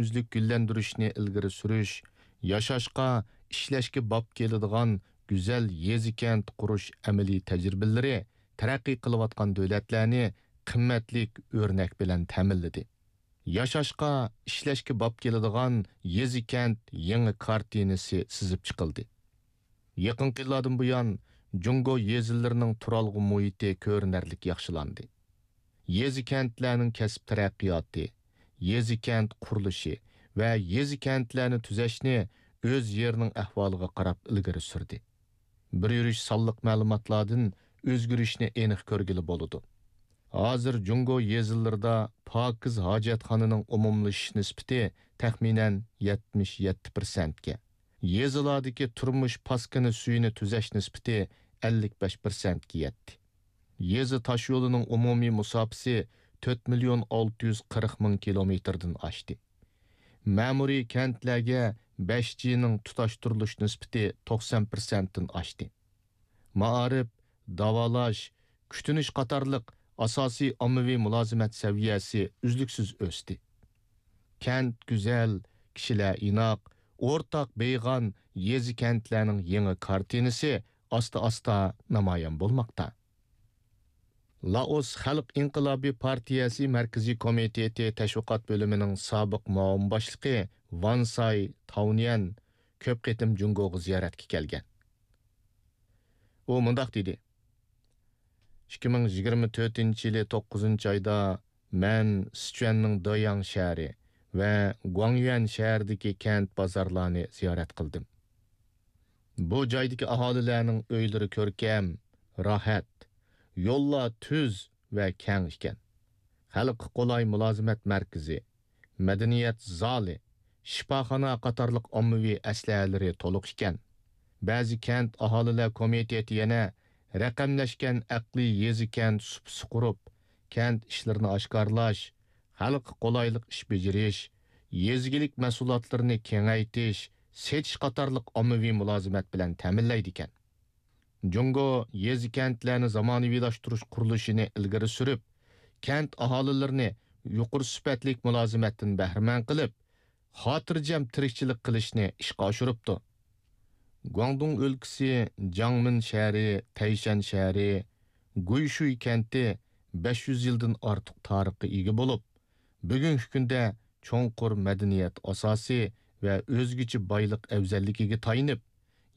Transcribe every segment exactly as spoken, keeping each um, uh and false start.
ئۈزلۈك گۈللەندۈرۈشنى ئىلگىرى سۈرۈش، ياشاشقا، ئىشلەشكە باب كېلىدىغان گۈزەل يېزا-كەنت قۇرۇش ئەمەلىي تەجرىبىلىرى تەرەققىي قىلىۋاتقان دۆلەتلەرنى قىممەتلىك ئۆرنەك بىلەن تەمىنلىدى. ياشاشقا، ئىشلەشكە باب كېلىدىغان يېزا-كەنت يېڭى كارتىنىسى سىزىپ چىقىلدى. يېقىنقى يىللاردىن بۇيان، جۇڭگو يېزىلىرىنىڭ تۇرالغۇ مۇھىتى كۆرۈنەرلىك ياخشىلاندى. يېزا-كەنتلەرنىڭ كەسىپ تەرەققىياتى، يېزا-كەنت قۇرۇلۇشى ۋە يېزا-كەنتلەرنى تۈزەشنى ئۆز يېرىنىڭ ئەھۋالىغا قاراپ ئىلگىرى سۈردى. بىر يۈرۈش سانلىق مەلۇماتلاردىن ئۆزگىرىشنى ئېنىق كۆرگىلى بولىدۇ. ھازىر جۇڭگو يېزىلىرىدا پاكىز ھاجەتخانىنىڭ ئومۇملىشىش نىسبىتى تەخمىنەن يەتمىش يەتتە پىرسەنتكە، يېزىلاردىكى تۇرمۇش پاسكىنا سۈيىنى تۈزەش نىسبىتى ئەللىك بەش پىرسەنتكە يەتتى. يېزا تاشيولىنىڭ ئومۇمىي مۇساپىسى تۆت مىليون ئالتە يۈز قىرىق مىڭ كىلومېتىردىن ئاشتى. مەمۇرىي كەنتلەرگە بەش جىنىڭ تۇتاشتۇرۇلۇش نىسبىتى توقسان پىرسەنتتىن ئاشتى. مائارىپ، داۋالاش، كۈتۈنۈش قاتارلىق ئاساسىي ئاممىۋى مۇلازىمەت سەۋىيەسى ئۈزلۈكسىز ئۆستى. كەنت گۈزەل، كىشىلەر ئىناق، ئورتاق بېيىغان يېزا-كەنتلەرنىڭ يېڭى كارتىنىسى ئاستا-ئاستا نامايان بولماقتا. لائوس خەلق ئىنقىلابى پارتىيەسى مەركىزىي كومىتېتى تەشۋىقات بۆلۈمىنىڭ سابىق مۇئاۋىن باشلىقى ۋان ساي تاۋنيەن كۆپ قېتىم جۇڭگوغا زىيارەتكە كەلگەن. ئۇ مۇنداق دېدى: «ئىككى مىڭ يىگىرمە تۆتىنچى يىلى توققۇزىنچى ئايدا مەن سىچۈەننىڭ دېياڭ شەھىرى ۋە گۇاڭيۈەن شەھىرىدىكى كەنت بازارلارنى زىيارەت قىلدىم. بۇ جايدىكى ئاھالىلەرنىڭ ئۆيلىرى كۆركەم، راھەت، يوللار تۈز ۋە كەڭ ئىكەن. خەلققە قولاي مۇلازىمەت مەركىزى، مەدەنىيەت زالى، شىپاخانا قاتارلىق ئاممىۋى ئەسلىھەلىرى تولۇق ئىكەن. بەزى كەنت ئاھالىلەر كومىتېتى يەنە رەقەملەشكەن ئەقلىي يېزا-كەنت سۇپىسى قۇرۇپ، كەنت ئىشلىرىنى ئاشكارىلاش، خەلققە قولايلىق ئىش بېجىرىش، يېزا ئىگىلىك مەھسۇلاتلىرىنى كېڭەيتىش، سېتىش قاتارلىق ئاممىۋى مۇلازىمەت بىلەن تەمىنلەيدىكەن. جۇڭگو يېزا-كەنتلەرنى زامانىۋىلاشتۇرۇش قۇرۇلۇشىنى ئىلگىرى سۈرۈپ، كەنت ئاھالىلىرىنى يۇقىرى سۈپەتلىك مۇلازىمەتتىن بەھرىمەن قىلىپ، خاتىرجەم تىرىكچىلىك قىلىشنى ئىشقا ئاشۇرۇپتۇ. گۇاڭدۇڭ ئۆلكىسى جاڭمىن شەھىرى، تەيشەن شەھىرى، گۇيشۇي كەنتى بەش يۈز يىلدىن ئارتۇق تارىخقا ئىگە بولۇپ، بۈگۈنكى كۈندە چوڭقۇر مەدەنىيەت ئاساسى ۋە ئۆزگىچە بايلىق ئەۋزەللىكىگە تايىنىپ،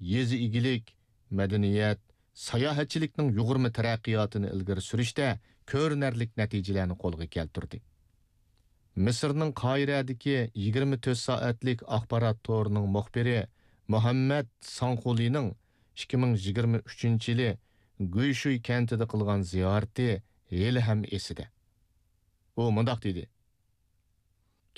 يېزا ئىگىلىك، مەدەنىيەت، ساياھەتچىلىكنىڭ يۇغۇرما تەرەققىياتىنى ئىلگىرى سۈرۈشتە كۆرۈنەرلىك نەتىجىلەرنى قولغا كەلتۈردى. مىسىرنىڭ قاھىرەدىكى يىگىرمە تۆت سائەتلىك ئاخبارات تورىنىڭ مۇخبىرى مۇھەممەد ساڭخۇلىنىڭ ئىككى مىڭ يىگىرمە ئۈچىنچى يىلى گۇيشۇي كەنتىدە قىلغان زىيارىتى ھېلىھەم ئېسىدە. ئۇ مۇنداق دېدى: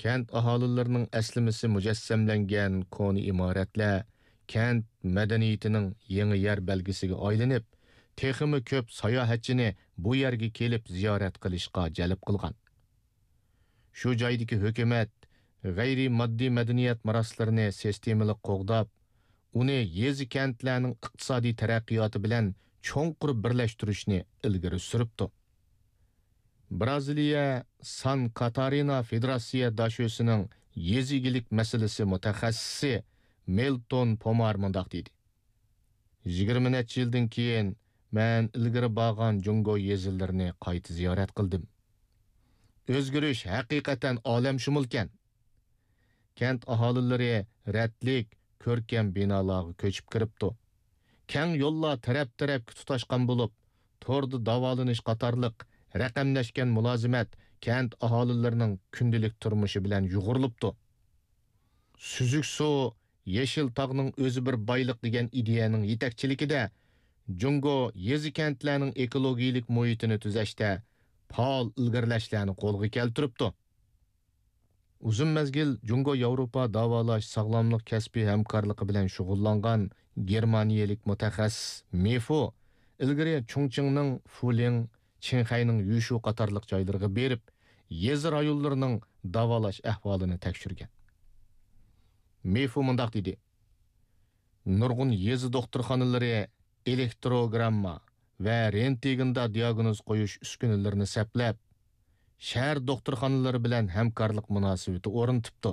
«كەنت ئاھالىلىرىنىڭ ئەسلىمىسى مۇجەسسەملەنگەن كونا ئىمارەتلەر كەنت مەدەنىيىتىنىڭ يېڭى يەر بەلگىسىگە ئايلىنىپ، تېخىمۇ كۆپ ساياھەتچىنى بۇ يەرگە كېلىپ زىيارەت قىلىشقا جەلپ قىلغان. شۇ جايدىكى ھۆكۈمەت غەيرىي ماددىي مەدەنىيەت مىراسلىرىنى سىستېمىلىق قوغداپ، ئۇنى يېزا-كەنتلەرنىڭ ئىقتىسادىي تەرەققىياتى بىلەن چوڭقۇر بىرلەشتۈرۈشنى ئىلگىرى سۈرۈپتۇ.» بىرازىلىيە سان كاتارىنا فېدېراتسىيە داشۆسىنىڭ يېزا ئىگىلىك مەسىلىسى مۇتەخەسسىسى مىلتون پومار مۇنداق دېدى: «يىگىرمە نەچچە يىلدىن كېيىن مەن ئىلگىرى بارغان جۇڭگو يېزىلىرىنى قايتا زىيارەت قىلدىم. ئۆزگىرىش ھەقىقەتەن ئالەمشۇمۇلكەن. كەنت ئاھالىلىرى رەتلىك، كۆركەم بىنالارغا كۆچۈپ كىرىپتۇ. كەڭ يوللار تەرەپ-تەرەپكە تۇتاشقان بولۇپ، توردا داۋالىنىش قاتارلىق رەقەملەشكەن مۇلازىمەت كەنت ئاھالىلىرىنىڭ كۈندىلىك تۇرمۇشى بىلەن يۇغۇرۇلۇپتۇ. سۈزۈك سۇ، يېشىل تاغنىڭ ئۆزى بىر بايلىق دېگەن ئىدىيەنىڭ يېتەكچىلىكىدە، جۇڭگو يېزا-كەنتلەرنىڭ ئېكولوگىيەلىك مۇھىتىنى تۈزەشتە پائال ئىلگىرىلەشلەرنى قولغا كەلتۈرۈپتۇ.» ئۇزۇن مەزگىل جۇڭگو ياۋروپا داۋالاش ساغلاملىق كەسپىي ھەمكارلىقى بىلەن شۇغۇللانغان گېرمانىيەلىك مۇتەخەسسىس مېفو ئىلگىرى چۇڭچىڭنىڭ فۇلىڭ، چىڭخەينىڭ يۈشۇ قاتارلىق جايلىرىغا بېرىپ، يېزا رايونلىرىنىڭ داۋالاش ئەھۋالىنى تەكشۈرگەن. مېفو مۇنداق دېدى: «نۇرغۇن يېزا دوختۇرخانىلىرى ئېلېكتروگرامما ۋە رېنتگېندا دىياگنوز قويۇش ئۈسكۈنىلىرىنى سەپلەپ، شەھەر دوختۇرخانىلىرى بىلەن ھەمكارلىق مۇناسىۋىتى ئورنىتىپتۇ.